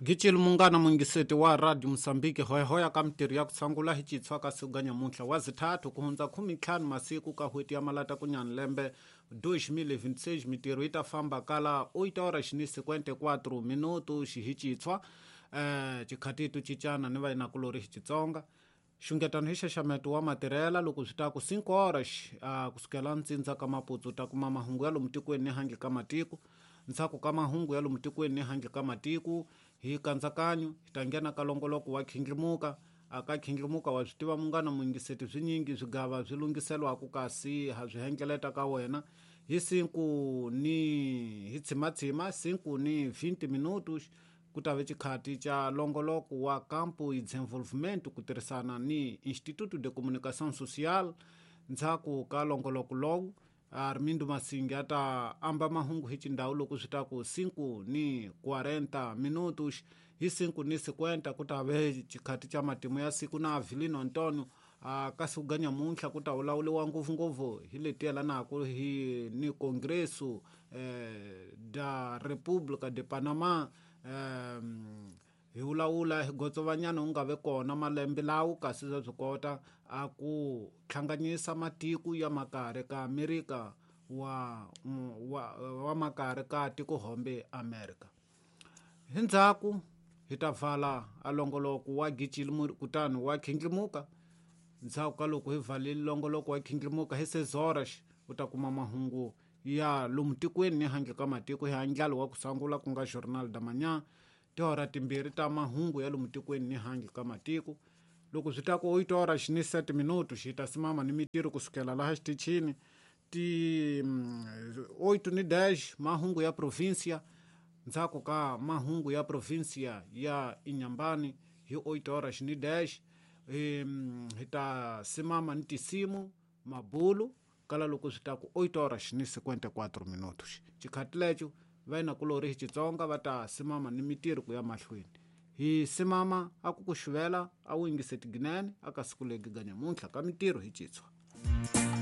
Gicile munghana muyingiseti wa radio Mosambiki hoyahoya ka mitirho ya ku tshangula hi citshwa ka siku ga nyamuntlha wa zithathu ku hundza 15 masiku ka hweti ya malata kunyani lembe 2026. Mitirho yi ta famba kala 8 horas ni 54 minuto xihicitshwa chikhatitu cicana ni vainakulori hi Xitsonga. Xungetano hi xaxameto wa matirhela loko swi ta ku 5 horas kusukela ntsindza ka Maputsu ta kuma mahungu ya lomu tikweni ni handle ka matiko. Ntshaku ka mahungu ya lomu tikweni ni handle ka matiko hi kantsakanyo hi ta nghena ka longoloko wa khindlimuka. Aka khindlimuka wa swi tiva munghana muyingiseti swinyingi swigava swi lunghiselwaku kasi ha swi hengeleta ka wena hi 5 ni hi tshimatshima 5 ni 20 minutos ku ta ve xikhati xa longoloko wa Campo e Desenvolvimento ku tirhisana ni Instituto de Comunicação Social. Ndzhaku ka longoloko lowu Armindo Masingi a ta amba mahungu hi xindhawu loko swi ta ku 5 ni 40 minutos. Hi 5 ni 50 ku ta ve xikhati xa matimu ya siku na Avelino Antonio. Ka siku ga nyamuntlha ku ta vulavuriwa ngopfungopfu hi leti yelanaka hi ni Congresso da República de Panama. Hi vulavula hi gotsovanyana wu nga ve kona malembe lawo kasi swa swi kota a ku hlanganyisa matiko ya makare ka Amerika wa, wa, wa makare ka tikohombe Amerika. Hi ndzhaku hi ta vala a longoloko wa gicile kutani wa khindlimuka. Ndzhaku ka loko hi valile longoloko wa khindlimuka hi 6 horas u ta kuma mahungu ya lomu tikweni ni handle ka matiko hi andlalo wa ku sangula ku nga Journal da Manhã, tihora timbirhi ta mahungu ya lomu tikweni ni handle ka matiko. Loko swi ta ku 8 horas ni 7 minuto xi ta simama ni mitirho kusukela laha xitichini ti 8 ni 10 mahungu ya provincia. Ndzhaku ka mahungu ya provincia ya Inhambane hi 8 horas ni 10 hi ta simama ni tisimu mabulu kala loko swi ta ku 8 horas ni 54 minutos. Xikhati lexo vainakulori hi Xitsonga va ta simama ni mitirho ku ya mahlweni. Hi simama a ku ku xuvela a wu yingiseti ginene aka siku legi ga nyamuntlha ka mitirho hi citshwa.